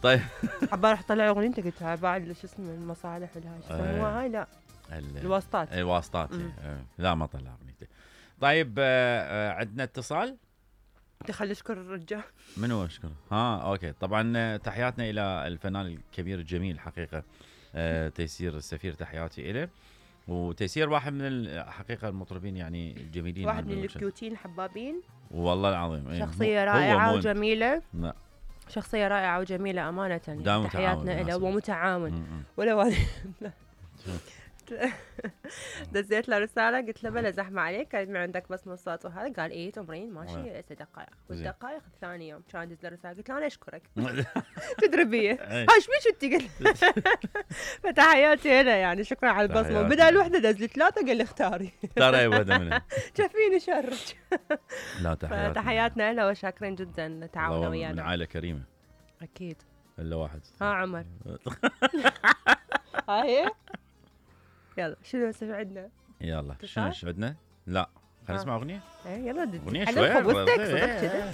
طيب عبالي رح طلع اغنيه انت قلتها بعد شو اسمه المصالح والهاي شو يسموها هاي لا الواسطات. الواسطات لا ما طلع اغنيته. طيب عندنا اتصال. خلي اشكر الرجال. منو اشكر؟ اوكي طبعا تحياتنا الى الفنان الكبير الجميل حقيقه تيسير السفير، تحياتي له. وتيسير واحد من الحقيقه المطربين يعني الجميلين، واحد من الكيوتين الحبابين والله العظيم. شخصيه رائعه وجميله. لا شخصيه رائعه وجميله امانه يعني. تحياتنا له ومتعاون ولا دزيت له رساله قلت له بلا زحمه عليك، كانت عندك بس نصات وهذا، قال ايه تمرين ماشي 6 دقائق والدقائق ثاني يوم كان دز له رساله قلت له انا اشكرك تدري بيه ايش بيك انت قلت فتحياتي له يعني شكرا على البصمه. بدل وحده دز لي 3 قال لي اختاري اي وحده منهم شافيني شرك. لا تحياتنا له وشاكرين جدا تعاونوا ويانا من عائله كريمه اكيد الا واحد. عمر هاي يلا شنو عندنا؟ يلا شنو عندنا؟ لا خلينا نسمع اغنيه. يلا اغنيه شويه.